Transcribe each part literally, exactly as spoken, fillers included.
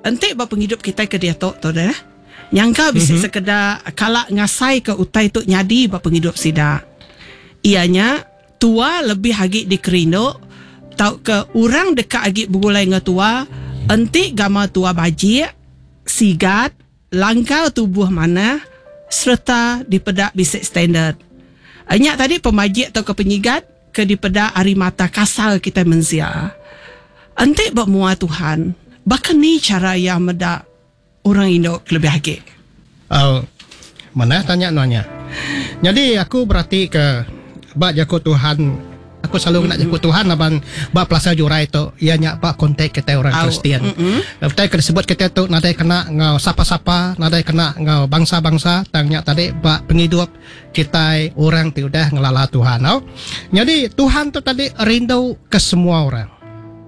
Enti ba pengidup kita ke diatu tu deh. Nyangka bisi mm-hmm. sekeda kala ngasai ke utai tu nyadi ba pengidup sida. Ianya tua lebih agi dikerindu tau ke orang dekat agi begulai dengan tua enti gama tua bajik, sigat, langkau tubuh mana serta dipedak bisik standard. Nyak tadi pemajik atau ke penyigat ke dipedak ari mata kasar kita mensia. Enti buat mua Tuhan, bahkan ni cara yang medak orang Indo lebih agi. Oh, mana tanya nanya. Jadi aku berarti ke bak jaku Tuhan, aku selalu nak jaku Tuhan laban bak pelasar jurai tu ia nyak bak kontak kita orang Au. Kristian. Utai ke disebut kita tu nadai kena ngau sapa-sapa, nadai kena ngau bangsa-bangsa, tang nyak tadi bak penghidup kita orang ti udah ngelala Tuhan. Au. Jadi Tuhan tu tadi rindu ke semua orang.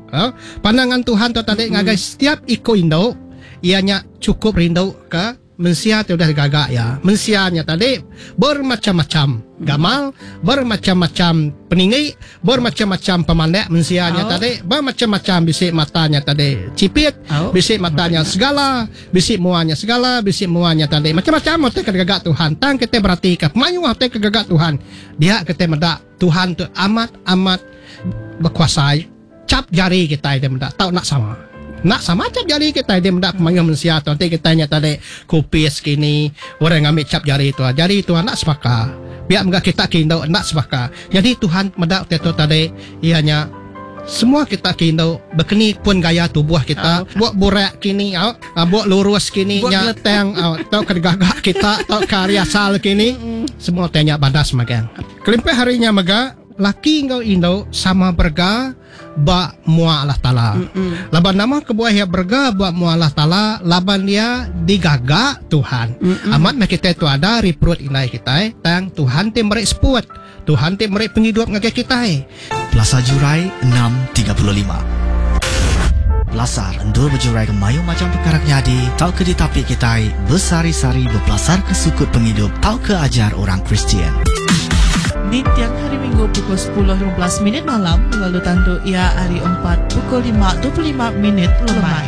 Au. Pandangan Tuhan tu tadi ngagai setiap iko Indo ianya cukup rindu ke mensia ti udah gagak ya. Mensianya tadi bermacam-macam gamal, bermacam-macam peninggi, bermacam-macam pemandek mensianya Oh. tadi, bermacam-macam bisik matanya tadi cipit, Oh. bisik matanya segala, bisik muanya segala, bisik muanya tadi macam-macam utai ke gagak Tuhan. Tang kita berarti ke pemayu utai ke gagak Tuhan. Dia kita medak Tuhan tu amat-amat berkuasa. Cap jari kita dia medak tau nak sama. Nak sama cap jari kita dia mendak pemayu manusia tu. Nanti kita nya tadi kupis kini orang ambil cap jari tu. Jari tu nak sepaka. Biar megak kita kindo nak sepaka. Jadi Tuhan mendak tu tadi ianya semua kita kindo berkeni pun gaya tubuh kita. Buat burak kini au, ah, buat lurus kini Buat nya gelet- tang au, tau ke gagak kita tau ke hari asal kini semua tanya badas magang. Kelimpah harinya mega laki ngau indo sama berga ba mua Allah Taala. Laban nama kebuah ia berga ba mua Allah Taala laban dia digagak Tuhan. Mm-mm. Amat meh kita tu ada ri perut indai kita eh. Tang Tuhan ti merik seput. Tuhan ti merik penghidup ngagai kita eh. Plaza Jurai enam tiga puluh lima. Pelasar endur berjurai ke mayu macam perkara nyadi tau ke ditapi kita bersari-sari berpelasar ke sukut penghidup tau ke ajar orang Kristian. Di tiang hari Minggu pukul sepuluh lima belas minit malam lalu tandu ia hari empat pukul lima dua puluh lima minit lemai.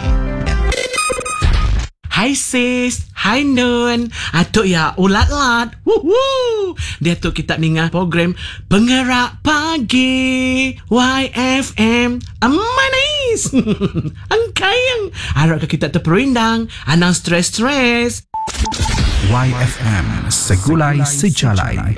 Hai sis, hai Nun. Atuk ya ulat-lat. Wuhu. Dia tu kita ninga program Pengerak Pagi Y F M. Manis. Angkayang. Harap ke kita terperindang, anang stres-stres. Y F M Segulai Sejalai.